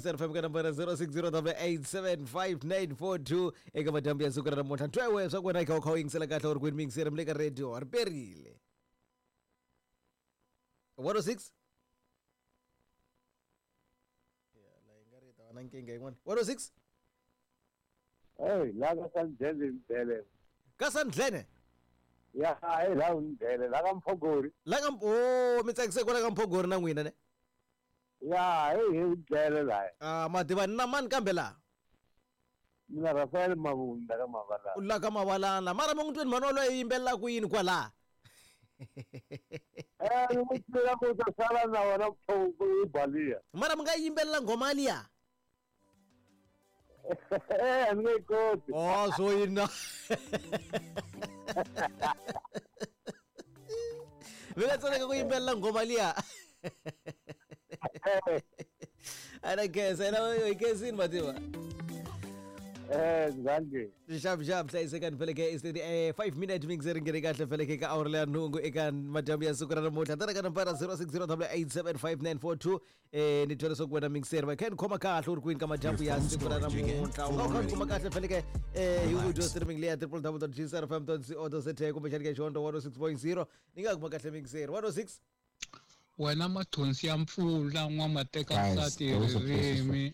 GCR FM ka nambara 0608875942 eka madyambu ya siku ra namuntlha. Ntwewe swa ku wena i kha u kha u yingisela kahle u ri kwini miyingiseri mi le ka radio ri perile. 106 Ya, la yi nga ri yi ta va na nkingha yin'wana. 106 Hey, la ka Sandlele Ndlele. Ka Sandlene? Ya, hey, la Ndlele, la ka Mphogori. La ka oh, mi tsakise kwala ka Mphogori na n'wina ne? Ya, hey, hey, Ndlele la. Ah, ma tiva ni na mani kambe laha? Mina Rafael Mabunda ka Mavalana. U la ka Mavalana. Mara mi n'wi twini mhani waloye yimbelela ku yini kwalaha? Eh, ni n'wi twela ku ta sala na wena Mphogori baliya. Mara mi nga yimbelela nghoma liya? Eh, a ni nge yi koti. Oh, swo yini na? Mi nga tsandzeka ku yimbelela nghoma liya. A na khensa, yena hi khensini mativa. Eh, zange. Xap xap hlayisekani feleke is 5 minute mi ri nghene kahle feleke ka awara leya nhungu eka madyambu ya siku ra namuntlha tana ka nambara 0608875942 eh ni twa leswaku wena mixer va kha ni khoma kahle u ri kwini ka madyambu ya siku ra namuntlha u nga u kha ni kuma kahle feleke eh hi audio streaming leya www.gcrfm.co.za kumbexani ka xihondzo 106.0 ni nga kuma kahle mixer 106 wena mathonsi ya mpfula n'wamateka Guys, nsati hi there was a process ririmi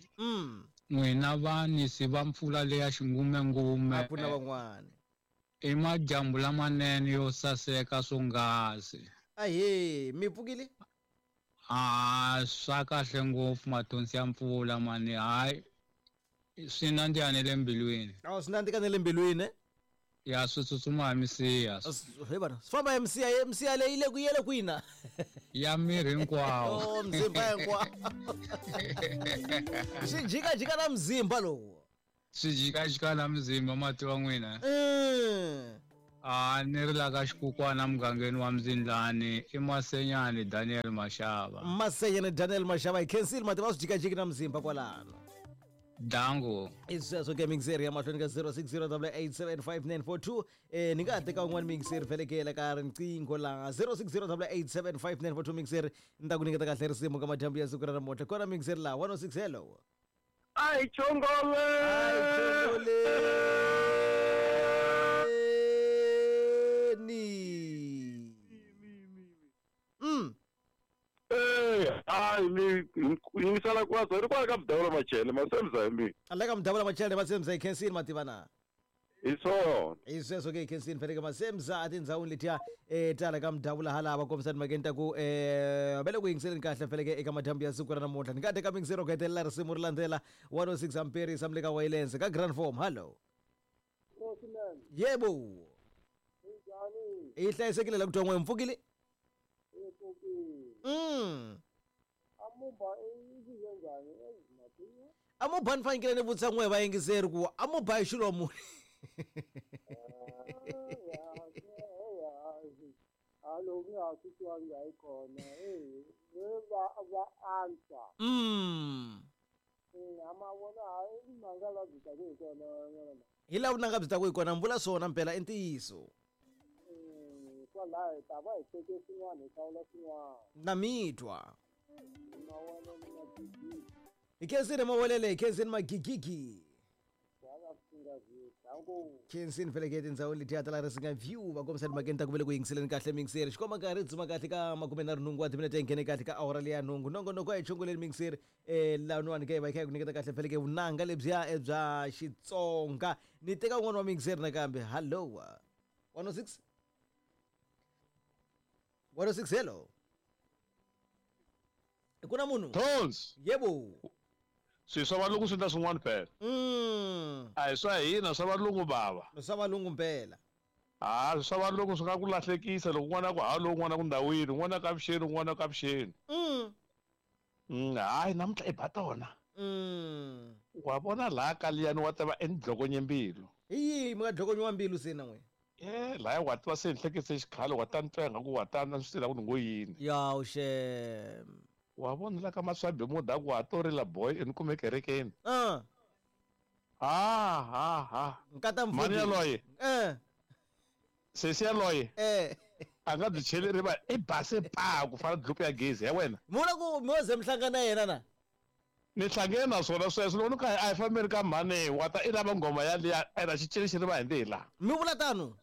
n'wina vanisi va mpfula leya xingumengume a ku na van'wana i madyambu lamanene yo saseka swonghasi ahee mi pfukile a swa kahle ngopfu mathonsi ya mpfula mani hayi swi nandziha ne le mbilwini a swi nandzika ne le mbilwini eh? ya swi tsutsuma hi misiha He vana swi famba hi misiha ye misiha leyi le ku yele kwina ya miri hinkwawo o mzimba hinkwawo swi jikajika na mzimba lowu swi jikajika na mzimba mati wa n'wina a ni ri la ka xikukwana mugangeni wa mzindlani i masenyani daniel mashava masenyani daniel mashava hi khensile mati va swi jikajiki na mzimba kwalano dango i sweswo ke mixeri ya mahlweni ka 0608875942 eh ni nga ha teka un'wana mixeri vhelekela ka riqingho laha 0608875942 mixeri ni ta ku nyiketa kahle risimu ka madyambu ya siku ra namuntlha kona mixeri laha 106 hello Ai chongole. Ni. Eh, hayi ni yingisela kwaso ri kwala ka mudavula machele masemza hi mina. Ala ka mudavula machele masemza hi khensini mativa na. Hi swona. Hi sweswo ke hi khensini faneke masemza etindhawini letiya um tala ka mudavula halava kombisa timhakeni ta ku um va le ku yingiseleni kahle faneke eka madyambu ya siku ra namuntlha ni nga teka miyingiselo ku hetelela risimu ri landzela 106 amperis amle ka wayilens ka grand form hallo yebo hi hlayisekile la ku twa n'we mpfukile amuba ni fanekele ni vutisa n'we vayingiseri ku amuba hi xilo muni Alo ku nga ha swi twangi hayi kona eyi va va antswa a ma vona hayi mhaka la byi taku hi kona n'wana hi laha vunanga byi taku hi kona mi vula swona mpela i ntiyiso kwalaho hi ta va hi teke swin'wana hi hlawula swin'wana na mi twa mawelele magigigi hi khensini mawelele hi khensini magigigi khensini feleke tindhawini letiya ta la risinga view va kombisa timhakeni ta ku ve le ku yingiseleni kahle mingiseri xikomba nkarhi dzuma kahle ka makumenharhu nhungu wa timinete yi nghene kahle ka awara leya nhungu nongonoko a hi chongoleni mingiseri um laniwani ke va hi kha hi ku nyiketa kahle feleke vunanga lebyiya bya xitsonga ni teka un'wana wa mingiseri nakambe hallo 106 106 hello ku na munhu Tons. Yebo. Swi swa valungu swi endla swin'wana phela. A hi swa hina swa valungu bava. Swa valungu mpela. Ha swa valungu swi nga ku lahlekisa loko n'wana ku halo n'wana ku ndhawini n'wana ka vuxeni n'wana ka vuxeni. Hayi namuntlha i ba tona. Wa vona laha ka liyani wa tiva i ni dlokonye mbilu. Hi yihi mi nga dlokonyiwa mbilu se na n'wina? Eh laya wa tiva se ni hlekise xikhale wa ta ni twa ingaku wa ta na swi tiva ku ni ngo yini. Yawu xem. Wa vona la ka maswabi muda ku wa to rila boy i ni kume kerekeni. Ha ha ha. Nkata Mhani mfundhisi. yaloye. Eh. Sesi yaloye. Eh. A nga byi cheleri va i base pa ku fana na dlupu ya gezi ya wena. Mi vula ku mi wo ze mi hlangana na yena na? Ni hlangene na swona sweswo loko ni kha a hi fambeni ka mhani wa ta i lava nghoma yaliya ene xi cini xi ri va hi ndlela. Mi vula tano?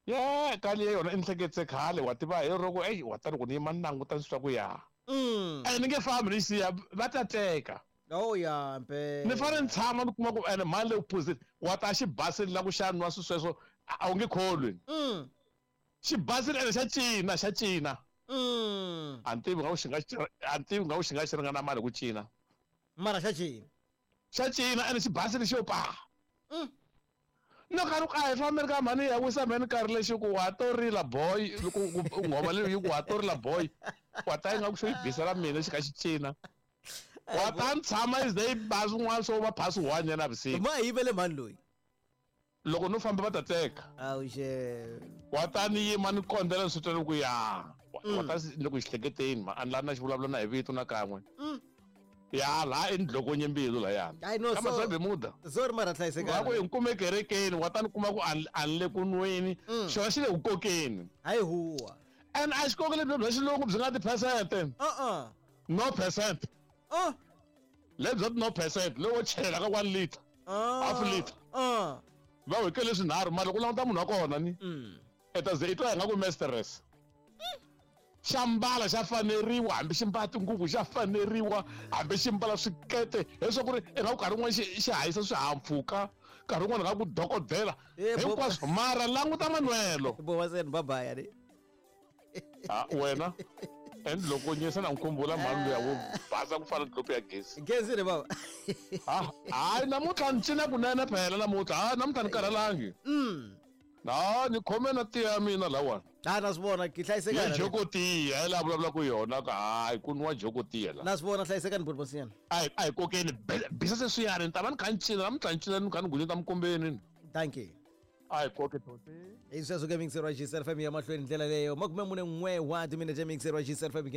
Ye ka liya yona i ni hleketise khale wa tiva hi roko eyi wa ta loko ni yima ni languta ni swi twa ku ya. Ene ni nge fambi ni siya va ta teka. Oh ya mpela. Ni fanele ni tshama ni kuma ku ene mhani le ku phuzeni wa ta xi basile la ku xa nwa swi sweswo a wu nge kholwi. Xi basile ene xa cina xa cina. A ni tivi nga ku xi nga a ni tivi nga ku xi nga xi ringana mali ku cina. Mara xa cina. Xa cina ene xi basile xo pa. No ka a hi fambeni ka mhani ya wisa mhani nkarhi lexi ku wa to rila boy loko nghoma leyi yi ku wa to rila boy wa ta yi nga ku xo yi bisela mina xi kha xi cina. Wa ta ni tshama yi ze yi ba swin'wana swo va phasi one ya navusiku. Ma yivele mhani loyi. Loko no famba va ta teka. Awuxe. Wa ta ni yima ni kondela ni swi twa ni ku ya. Wa ta ni ku xihleketeni ma a ni lavi na xivulavula na hi vito na kan'we. Ya laha i ni dlokonye mbilu layani. Hayi no Ka so Masabemuda. Sorry mara Va ku hlayisekani. hi kume kerekeni wa ta ni kuma ku a ni le ku nweni. Xona xi le ku kokeni. Hayi huwa. And a xi koki lebyi bya xilungu byi nga ti-percent. Uh-uh. No percent. Lebyi bya no percent lowo chela ka 1 liter. Half liter. Va hikele swinharhu mara loko u languta munhu wa kona ni. I ta ze i twa hi nga ku mistress. Xa mbala xa faneriwa hambi xi mbala tinguvu xa faneriwa hambi xi mbala swikete leswaku ri i nga ku nkarhi wun'wana xi hahisa swihahampfhuka nkarhi wun'wana nga ku dokodela hinkwaswo mara languta manwelo. Bo wa bye bye. Ha wena and loko nyisa na nkhumbula mhani luya wo basa ku fana dlopu ya gezi. Gezi re baba. Ha hayi namuntlha ni cina kunene phela namuntlha ha namuntlha ni karhalangi. Na ni khome na tiya ya mina lawani. Ha na swi vona ki hlayisekani. Ya joko tiya hi laha vulavulaka yona ka hayi ku nwa joko tiya la. Na swi vona hlayisekani buti Mosinyana. A hi kokeni bisa sweswiyani ni ta va ni kha ni cina namuntlha ni cina ni kha ni gunyeta minkombeni. Thank you. A hi koke toti. Hi sweswo ke mixer wa GCL FM ya mahlweni ndlela leyo 41 wa timinete mixer wa GCL FM.